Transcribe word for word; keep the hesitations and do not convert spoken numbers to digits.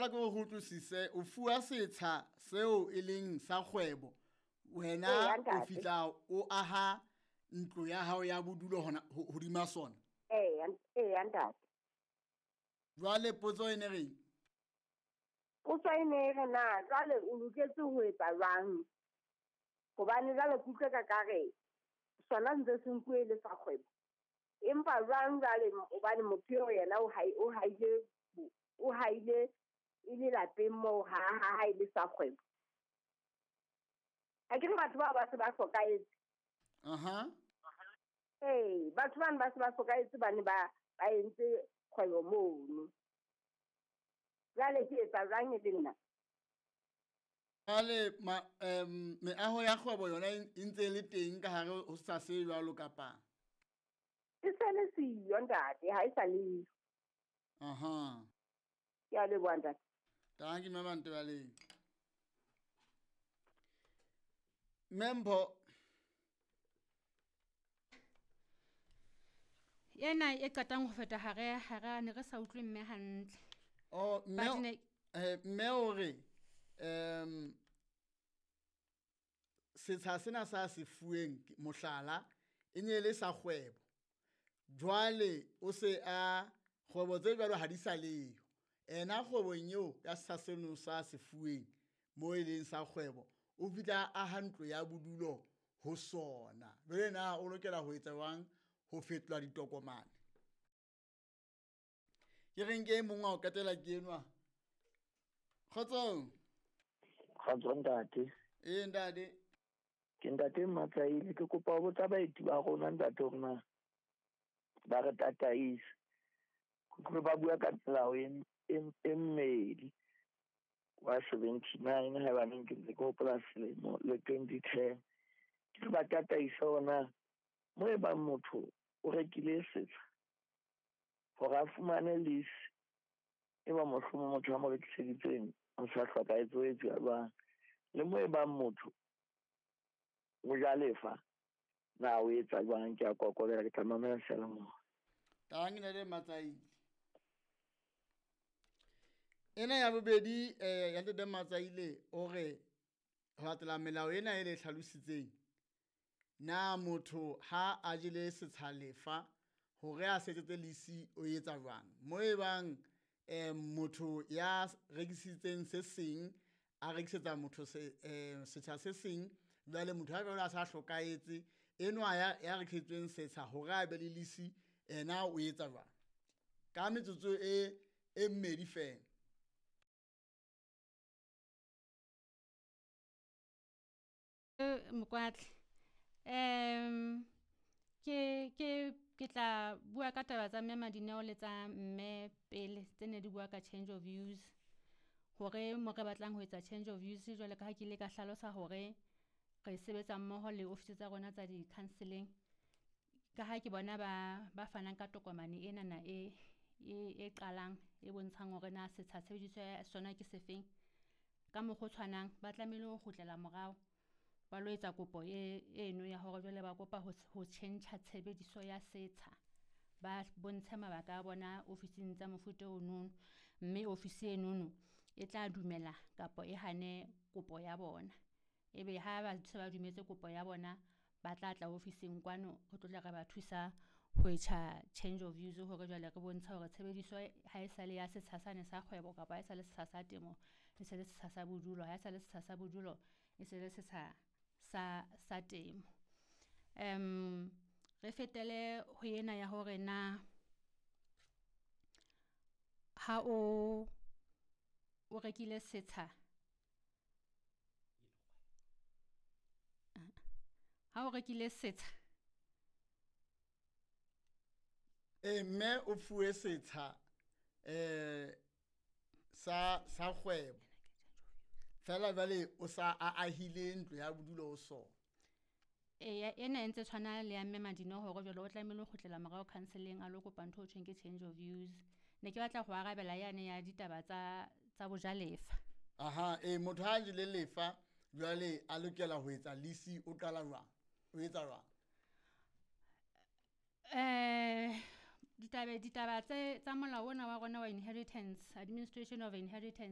Feela ke o go utlwisise, o fuwa setsha seo e leng sa kgwebo. Wena Eya, o ntate. fihla o aha ntlo ya hao ya bodulo hona ho- hodima sona. Eya, eya ntate. Jwale potso e ne reng? Potso e ne e re na jwale o loketse ho etsa jwang? Hobane jwale ke utlwe ka kare sona ntse se nkuwe e le sa kgwebo. Empa jwang jwale hobane motho eo yena o hai- o haile o haile e le lapeng moo ha ha ha e le sa kgwebo. Ha ke re batho bao ba se ba hlokahetse. Aha. Ee, batho bano ba se ba hlokahetse bane ba ba entse kgwebo mono. Jwale ke etsa jwang e le nna? Jwale ma em meaho ya kgwebo yona e e ntse e le teng ka hare ho setsha se jwalo kapa? E se le siyo ntate, ha e sa le yo. Aha. Ke a leboha ntate. Tanki mme Mantebaleng. Mme Mpho. Ena e qetang ho feta hare hare ne re sa utlwe mme hantle. Oh, mme But ne- eh, mme o re em setsha sena sa se fuweng ke- mohlala e ne e le sa kgwebo. Jwale o se a kgwebo tse jwalo ha di sa leyo. Ena kgwebong eo ya setsha seno sa se fuweng mo e leng sa kgwebo, o fihla a aha ntlo ya bodulo ho sona. Jwale na o lokela ho etsa jwang ho fetola ditokomane? Ke reng ke e mong wa ho qetela ke enwa. Kgotsong. Kgotso ntate. Ee ntate. Ke ntate Matsaile, ke kopa ho botsa baeti ba rona ntate hore na ba re tataise. Ke utlwe ba bua ka melao e, e, e mmedi wa seventy-nine haebaneng ke ntse ke hopola selemo le twenty ten. Ke re ba tataise hore na mo e bang motho o rekile setsha hore a fumane lease, e ba mohlomong motho a mo rekiseditseng o sa hlokahetse ho etsuwa jwang, le mo e bang motho o ja lefa na o etsa jwang. Ke a kokobela, ke tla mamela seyalemoya. Tanki ntate Matsaile. Ena ya bobedi eh ya ntate Matsaile o re ho latela melao ena e le hlalositseng, na motho ha a jele setsha lefa hore a setsetse lease o etsa jwang? Mo e bang eh motho ya rekisitseng se seng a rekisetsa motho se eh setsha se seng, jwale motho ha jwale a sa hlokahetse, enwa ya ya rekisitsweng setsha hore a be le lease ena o etsa jwang? Ka metsotso e e mmedi feela. Mokwatle. Em ke ke ke tla bua ka taba tsa mme Madineo le tsa mme pele tse ne di bua ka change of use. Hore mo re batlang ho etsa change of use jwale ka ha ke ile ka hlalosa hore re sebetsa mmoho le office tsa rona tsa di-counselling. Ka ha ke bona ba ba fanang ka tokomane enana e e e qalang e bontshang hore na setsha tshebediso ya sona ke sefeng. Ka mokgwa o tshwanang ba tlamehile ho kgutlela morao ba lo etsa kopo e eno ya hore jwale ba kopa ho ho tjhentjha tshebediso ya setsha. Ba bontshe mabaka a bona ofising tsa mofuta onono, mme ofisi enono e tla dumela kapa e hane kopo ya bona. Ebe ha ba se ba dumetse kopo ya bona, ba tla tla ofising kwano re tlo tla re ba thusa ho etsa change of use hore jwale re bontshe hore tshebediso ha e sale ya setsha sane sa kgwebo kapa ha e sale setsha sa temo, e se le setsha sa bodulo, ha e sale setsha sa bodulo, e se le setsha sa sa temo. Em re fetele ho ena ya hore na ha o o rekile setsha, ha o rekile setsha Eh mme o fuwe setsha eh sa sa kgwebo. Feela jwale o sa a ahile ntlo ya bodulo ho sona. Eya, ena e ntse tshwana le ya mme Madineo hore jwale o tlamehile ho kgutlela morao counselling a lo kopa ntho ho thweng ke change of use. Ne ke batla ho arabela yane ya ditaba tsa tsa bojalefa. Aha, eh motho ha jele lefa jwale a lokela ho etsa lease o qala jwang? O etsa jwang? Eh ditaba ditaba tse tsa molao ona wa rona wa inheritance, administration of inheritance